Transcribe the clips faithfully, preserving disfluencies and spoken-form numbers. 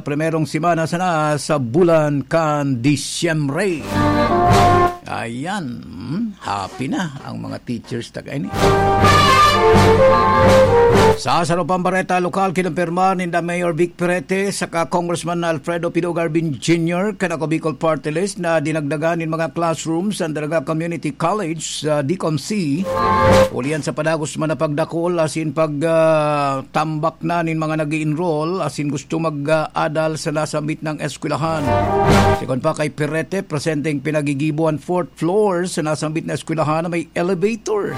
primerong semana sana sa bulan kan Disyembre. Ayan, hmm, happy na ang mga teachers ta kaini. Sa sarong pang bareta lokal, kinumpirma ninda Mayor Vic Perete saka Congressman Alfredo Pidong Garbin Junior kan Ako Bicol Party List na dinagdagan nin mga classrooms sa Daraga Community College sa DCOMC, ulian sa padagos man na pagdakol asin pag, ah, tambak na nin mga nag-i-enroll asin gusto mag-adal sa nasambit na eskwelahan. Sigon pa kay Perete, presenteng pinagigibo an fourth floor sa nasambit na eskwelahan na may elevator.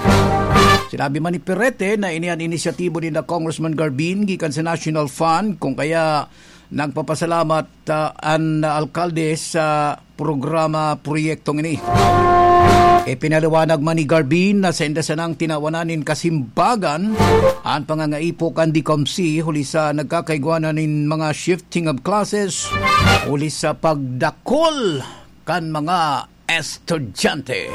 Sinabi man ni Perete na ini an inisyatibo ninda Congressman Garbin gikan sa National Fund, kung kaya nagpapasalamat, ah, an alkalde sa programa, proyektong ini. Ipinaliwanag man ni Garbin na sainda sanang tinawanan nin kasimbagan an pangangaipo kan DCOMC huli sa nagkakaigwa na nin mga shifting of classes huli sa pagdakol kan mga estudyante.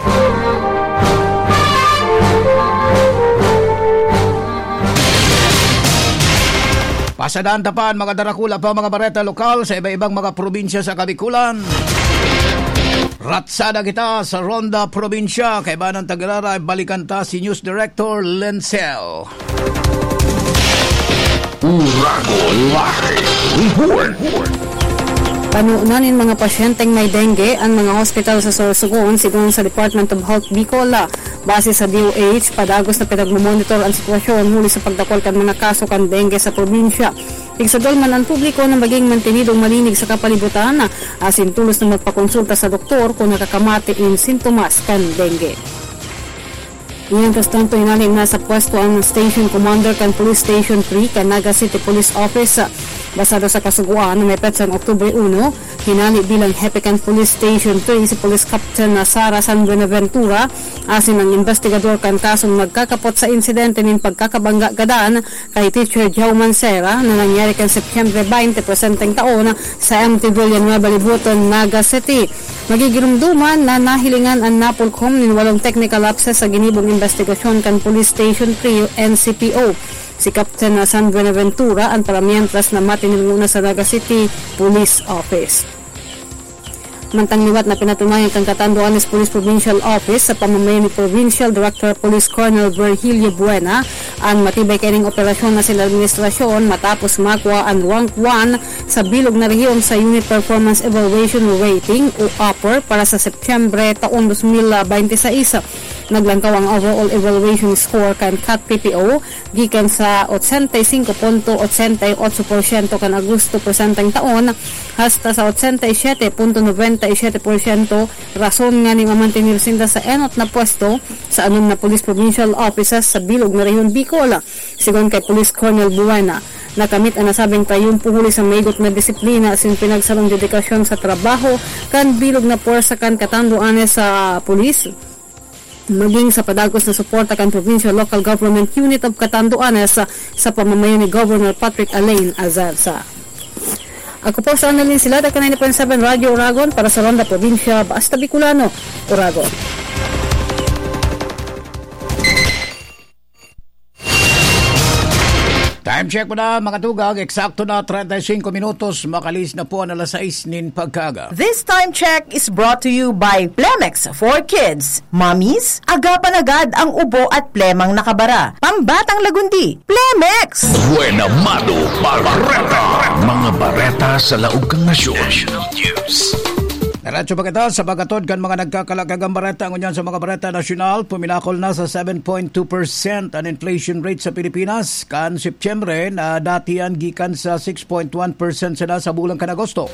Pasadaan ta pa an mga darakula pa mga bareta lokal sa iba-ibang mga probinsya sa Kabikulan. Ratsada kita sa Ronda Probinsya. Kaibanan ta giraray, balikan ta si News Director Lencel. Uragon Live Report. Panunan nin mga pasyenteng may dengue an mga hospital sa Sorsogon, sigon sa Department of Health Bicol. Base sa D O H, padagos na pinagmomonitor an sitwasyon huli sa pagdakol kan mga kaso kan dengue sa probinsya. Igsadol man an publiko na maging mantenidong malinig sa kapalibutan, asin tolos na magpakonsulta sa doktor kun nakakamati nin sintomas kan dengue. Iyan, kas tanto, hinali na sa pwesto an Station Commander kan Police Station three kan Naga City Police Office. Basado sa kasugoan na may petsang Oktubre uno, hinali bilang hepe kan Police Station three si Police Captain na Sara San Buenaventura, asin ang investigador kan kasong nagkakapot sa insidente nin pagkakabangga gadan kay Teacher Joe Mancera na nangyari kan Setyembre twenty, presenteng taon, sa M T Villanueva Libuton, Naga City. Magigirumduman na nahilingan an napulkom nin walong technical lapses sa ginibong investigasyon kan Police Station three N C P O. Si Captain San Buenaventura an paramientras na matinirngo na sa Naga City Police Office. Mantang liwat na pinatunayan kan Catanduanes Police Provincial Office sa pamamayo ni Provincial Director Police Colonel Virgilio Buena an matibay kaining operasyon na sin administrasyon matapos makua an rank one sa bilog na rehiyon sa Unit Performance Evaluation Rating o upper para sa Setyembre taong dos mil baynte sais. Naglangkaw ang overall evaluation score kan CAT P P O gikan sa ochenta y cinco punto ochenta y ocho por ciento kan Agosto presenteng taon hasta sa ochenta y siete punto noventa y siete por ciento, rason ngani mamantener sinda sa enot na pwesto sa anom na police provincial offices sa bilog na Rehiyon Bicol. Sigon kay Police Colonel Buena, nakamit an nasabing trayumpo huli sa maigot na disiplina asin pinagsarong dedikasyon sa trabaho kan bilog na pwersa kan Catanduanes sa pulis, maging sa padagos na suporta kan Provincial Local Government Unit of Catanduanes sa, sa pamamayo ni Governor Patrick Alain Azarza. Ako po sa Annalyn Silada, kan ninety point seven Radyo Uragon para sa Ronda Probinsya, Basta Bicolano, Uragon. Time check po na, mga tugang. Eksakto na treinta y cinco minutos. Makalihis na po ang alas sais nin pagkaaga. This time check is brought to you by Plemex for Kids. Mommies, agapan agad ang ubo at plemang nakabara. Pambatang lagundi, Plemex! Buena Mano Bareta. Mga bareta sa laog kan nasyon. National News. Diretso pa kita sa paghatod kan mga nagkakalagang bareta. Ngunyan sa mga bareta nasyonal, puminakol na sa seven point two percent an inflation rate sa Pilipinas kan Setyembre, na dati yan gikan sa six point one percent sana sa bulan kan Agosto.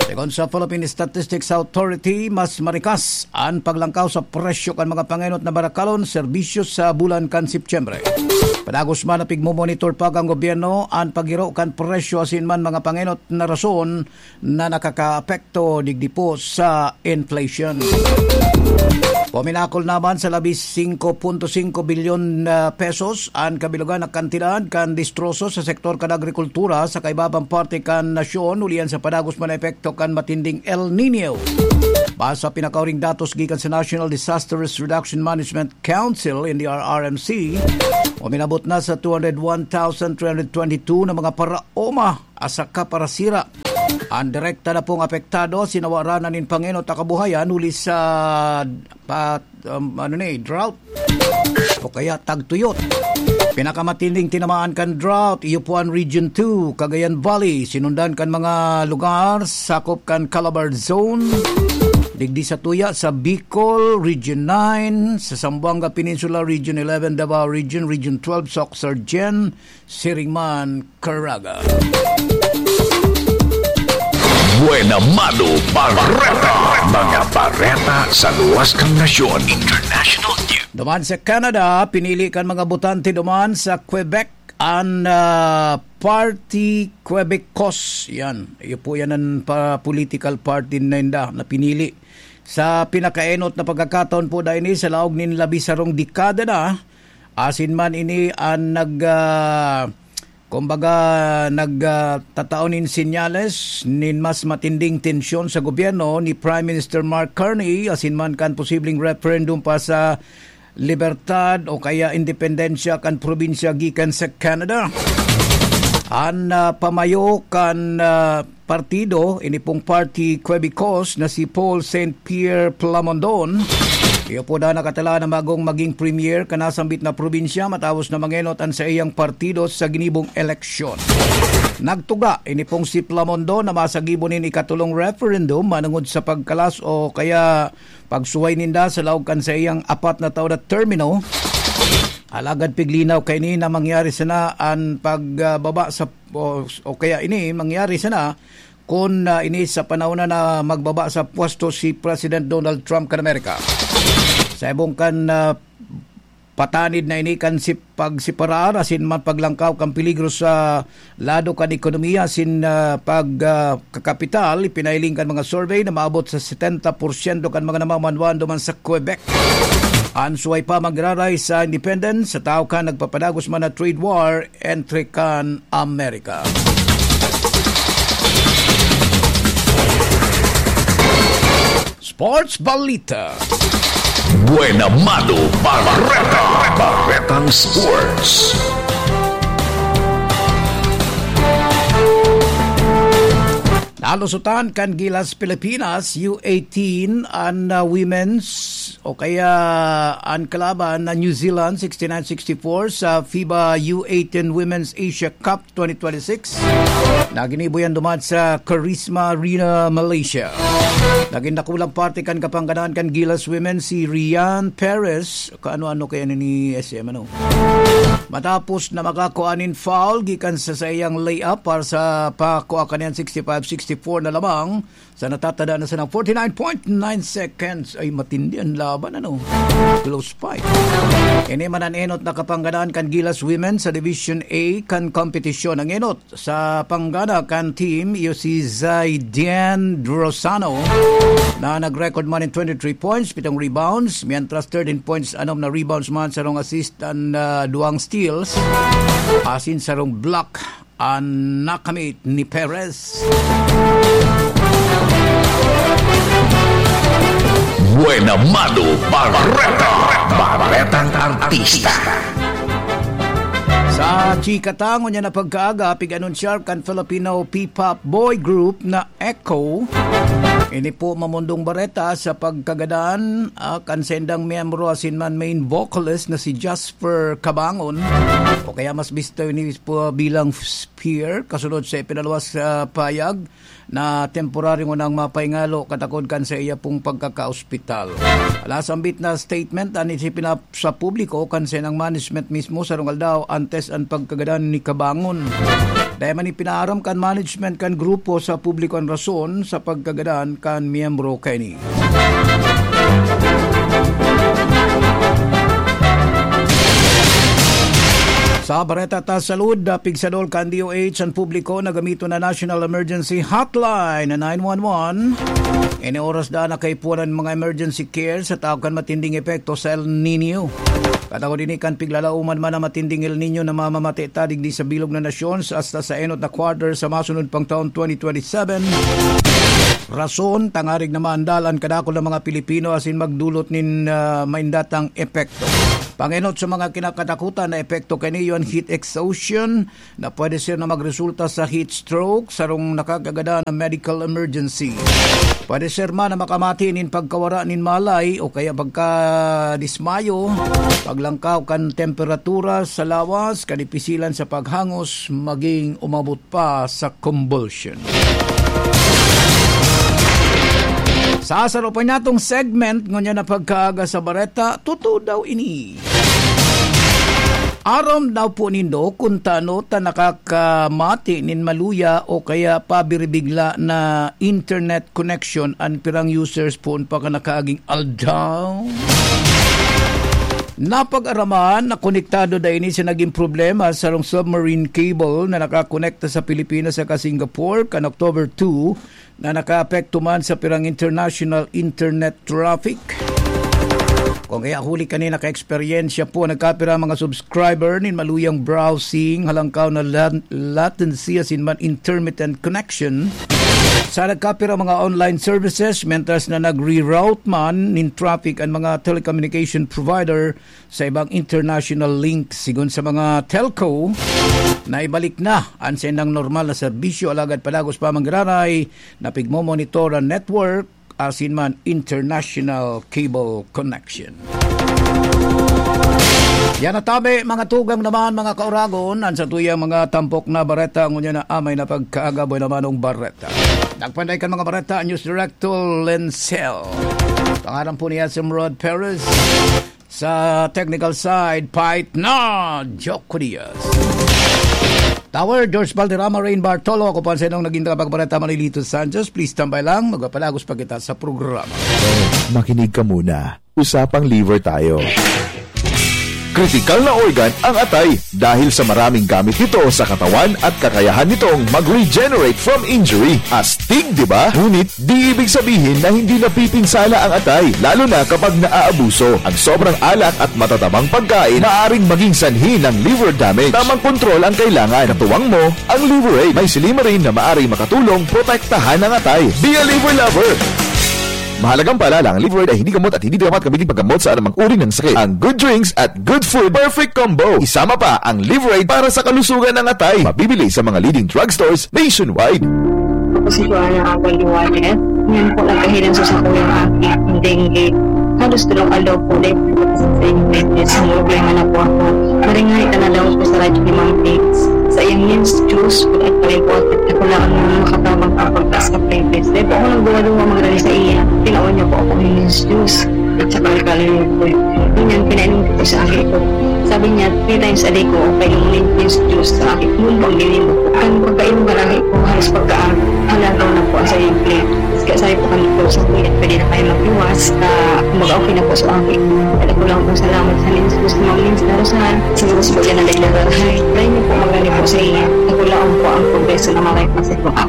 Segun sa Philippine Statistics Authority, mas marikas an paglangkaw sa presyo kan mga pangenot na barakalon, serbisyo sa bulan kan Setyembre. Padagos man na pigmomonitor pa kan gobyerno an paghiro kan presyo asin man mga pangenot na rason na nakakaapekto digdi po sa inflation. Puminakol naman sa labis singko punto singko bilyon na pesos an kabilugan na kantidad kan distroso sa sektor kan agrikultura sa kaibabang parte kan nasyon, ulian sa padagos man na epekto kan matinding El Niño. Base sa pinakauring datos gikan sa National Disasters Reduction Management Council, N D R R M C, Uminabot na sa two hundred one thousand three hundred twenty-two na mga paraoma asaka parasira. An direkta na pong apektado, sinawaranan nin pangenot a kabuhayan huli sa pat-, um, ano ni, drought o kaya tagtuyot. Pinakamatinding tinamaan kan drought, iyo po an Region two, Cagayan Valley, sinundan kan mga lugar sakop kan Calabar Zone. Digdi sa tuya, sa Bicol, Region nine, sa Zamboanga Peninsula, Region eleven, Davao Region, Region twelve, Soccsksargen, siring man, Caraga. Buena Mano Bareta. Mga bareta sa luwas kan nasyon. International news. Duman sa Canada, pinili kan mga botante duman sa Quebec an, ah, Parti Québécois. Yan. Iyo po yan an pa-, political party na inda na pinili. Sa pinakaenot na pagkakataon po na ini, sa laog nin labi sarong dekada na, asin man ini an nag, ah, kumbaga, nag, ah, tatao nin senyales nin mas matinding tensyon sa gobyerno ni Prime Minister Mark Carney, asin man kan posibleng referendum pa sa libertad o kaya independensya kan probinsya gikan sa Canada. An, ah, pamayo kan, ah, partido, ini pong Parti Québécois na si Paul Saint Pierre Plamondon, iyo po na nakatala na magong maging premier kan nasambit na probinsya matapos na mangenot an saiyang partido sa ginibong eleksyon. Nagtuga ini pong si Plamondon na masagibo nin ikatulong referendum manungod sa pagkalas o kaya pagsuhay ninda sa laog kan saiyang apat na taon na termino. Alagad piglinaw kaini na mangyari sana an pagbaba sa, o, o kaya ini mangyari sana kun, ah, ini sa panahon na, na magbaba sa pwesto si President Donald Trump kan Amerika. Sa ibong kan, ah, patanid na ini kan si-, pagseparar asin man paglangkaw kan peligro sa lado kan ekonomiya asin, ah, pag, ah, kakapital, ipinahiling kan mga survey na maabot sa setenta porsyento kan mga namamanwan duman sa Quebec. An suway pa magraray sa independence, sa tao kan nagpapadagos man na trade war entre kan Amerika. Sports Balita. Buena Mano Bareta. Baretang Sports. Nalusutan kan Gilas Pilipinas U eighteen an, ah, women's o kaya an kalaban na New Zealand sixty-nine sixty-four sa FIBA U eighteen Women's Asia Cup twenty twenty-six. Naginibo yan duman sa Karisma Arena, Malaysia. Nagin dakulang parte kan kapanggadan kan Gilas Women si Rian Perez. Kaano-ano kaya ni S M, ano? Matapos na makakua nin foul gikan sa saiyang layup para sa pakua kaniyan sixty-five sixty-four na lamang, sa natatada na sana forty-nine point nine seconds. Ay, matindi an laban, ano? Close fight. Ini man an enot na kapanggadan kan Gilas Women sa Division A kan kompetisyon. Ang enot sa panggada kan team, iyo si Zaidian Drosano, na nag-record man in twenty-three points, pitong rebounds, mientras thirteen points, anom na rebounds man, sarong assist and, ah, duwang steals, asin sarong block an nakamit ni Perez. Buena Mano Bareta. Baretang Artista. Sa chika ta ngunyan na pagkaaga, pig-anunsyar kan Filipino P-pop boy group na Echo. Ini po mamundong bareta sa pagkagadan, ah, kan sendang miyembro asin man main vocalist na si Jasper Cabangon, o kaya mas bisto ini po bilang Spear, kasunod sa ipinaluwas sa payag na temporaryo ngunang mapahingalo katakod kan saiya pong pagkakaospital. Alasambit na statement an isipinap sa publiko kan senang management mismo sarong aldaw antes an pagkagadan ni Cabangon. Dai man ipinaaram kan management kan grupo sa publiko an rason sa pagkagadan kan miyembro kaini. Sa bareta ta salud, ah, pigsadol kan D O H an publiko na gamiton na National Emergency Hotline na nine one one. Ini oras daan na kaipuhan an mga emergency care sa tao kan matinding epekto sa El Niño. Katakod ini kan piglalauman man ang matinding El Niño na mamamati ta digdi sa bilog na nasyon sa hasta sa enot na quarter sa masunod pang taon twenty twenty-seven. Rason, tangarig na maandal an kadakul na mga Pilipino asin magdulot nin, ah, maindatang epekto. Pangenot sa mga kinakatakutan na epekto kaniyo an heat exhaustion na pwede ser na magresulta sa heat stroke, sarong nakakagadan na medical emergency. Pwede ser man na makamati nin pagkawara nin malay o kaya pagkadismayo, paglangkaw kan temperatura sa lawas, kadipisilan sa paghangos, maging umabot pa sa convulsion. Sa saro pa niyatong segment, ngunyan na pagkaaga sa bareta, totoo daw ini. Aram daw po nindo kun tano ta nakakamati nin maluya o kaya pabiribigla na internet connection an pirang users poon pa kan nakaaging aldaw? Napag-araman na konektado da ini sa naging problema sa sarong submarine cable na nakakonekta sa Pilipinas saka Singapore kan October two, na nakaapekto man sa pirang international internet traffic. Kung kaya huli kanina ka-eksperyensya po, nagkapira mga subscriber nin maluyang browsing, halangkaw na lat-, latency asin man intermittent connection. Sa nagkapira mga online services, mentras na nagre-route man nin traffic ang mga telecommunication provider sa ibang international link. Sigon sa mga telco, naibalik na an saindang normal na serbisyo, alagad padagos pa manggiraray na pigmomonitor an network asin man international cable connection. Yan na tabi, mga tugang naman, mga kauragon, an satuyang mga tampok na bareta, ngunyan na amay na pagkaaga, buhay naman ang bareta. Nagpanday kan mga bareta, News Director Lencel. Pangalan po niya si Rod Perez. Sa technical side, Pait na Joke Diaz. Tower, George Valderrama, Rain Bartolo. Ako po ang sa inyong naging tagapagbalita, Manilito Sanchez. Please tambay lang, magpapalagos pa kita sa programa. Makinig ka muna. Usapang liver tayo. Kritikal na organ ang atay dahil sa maraming gamit nito sa katawan at kakayahan nitong mag-regenerate from injury. Astig, di ba? Ngunit di ibig sabihin na hindi napipinsala ang atay, lalo na kapag naaabuso. Ang sobrang alak at matatabang pagkain maaring maging sanhi ng liver damage. Tamang kontrol ang kailangan. Katuwang mo, ang Liver Aid. May silymarin na maaring makatulong protektahan ang atay. Be a liver lover! Mahalagang paalala, ang Liver Aid ay hindi gamot at hindi dapat gamitin paggamot sa anumang uri ng sakit. Ang Good Drinks at Good Food Perfect Combo. Isama pa ang Liver Aid para sa kalusugan ng atay. Mabibili sa mga leading drugstores nationwide. Ako si Joanna Abal Juarez. Ngayon po, nagkahilan sa sakuyang aki ng dengue. Halos dalawang aldaw po ulit sa dengue. May problema na po ako. Maringay ka na daw po sa radyo ni Ma'am Tix. Sa iyang News Juice, at pala po at nakulaan mo ng makatabang kapag sa Pilipinas. Dahil po ako nagduwa-duwa magrani sa iya. Tinaon niya po ako ng News Juice. At saka nagkalimot po yun. Yun yung pinainom ko po sa aki ko. Sabi niya, three times a day ko, painom ng News Juice sa aki. Noon pang dilim. Ang pagkainom ka lagi ko, halos pagka-, halagaw na po ang sa iyang plate. Kaya sabi po kami po sa kuya, pwede na kayo magluwas. Ah, kumbaga okay na po sa aki. Kaya ko lang po salamat sa News Juice, Ma'am Lins Darusal. Sa mga po dyan na naglalarahay. Try niyo po magrani po sa iya. Ako lang po ang progreso na maray po sa mga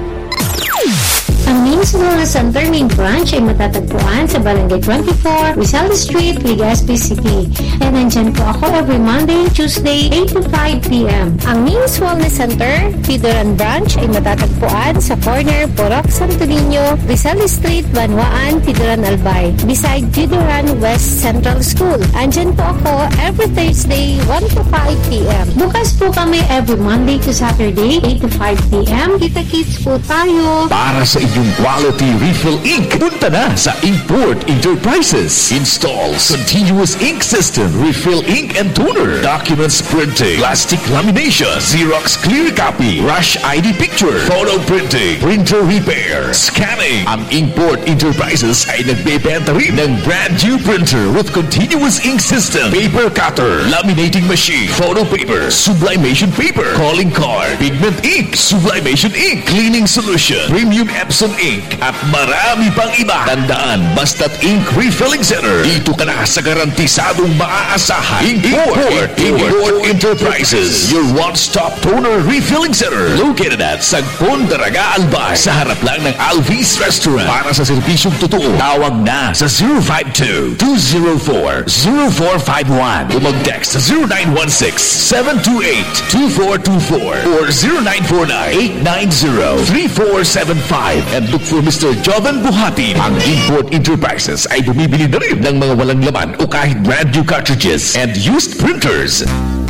Ang Names Wellness Center main branch ay matatagpuan sa Barangay twenty-four, Rizal Street, Legazpi City. And nandyan po ako every Monday and Tuesday, eight to five p m. Ang Names Wellness Center, Pidoran Branch, ay matatagpuan sa corner Purok Santo Niño, Rizal Street, Banwaan, Pidoran, Albay, beside Pidoran West Central School. Andyan po ako every Thursday, one to five p m. Bukas po kami every Monday to Saturday, eight to five p m. Kita-kits po tayo. Para sa inyong quality refill ink, punta na sa Inkport Enterprises. Installs continuous ink system, refill ink and toner, documents printing, plastic lamination, Xerox clear copy, rush I D picture, photo printing, printer repair, scanning. Ang Inkport Enterprises ay nagbebenta rin ng brand new printer with continuous ink system, paper cutter, laminating machine, photo paper, sublimation paper, calling card, pigment ink, sublimation ink, cleaning solution, premium Epson ink, at marami pang iba. Tandaan, basta't ink refilling center, dito ka na sa garantisadong maaasahan. Import, Import Enterprises, your one-stop toner refilling center, located at Sagpon, Daraga, Albay, sa harap lang ng Alvis Restaurant. Para sa serbisyong totoo, tawag na sa zero five two, two zero four, zero four five one o mag-text sa zero nine one six, seven two eight, two four two four or zero nine four nine, eight nine zero, three four seven five and look for Mister Jovan Buhatin. Ang Import Enterprises ay bumibili na rin ng mga walang laman o kahit brand new cartridges and used printers.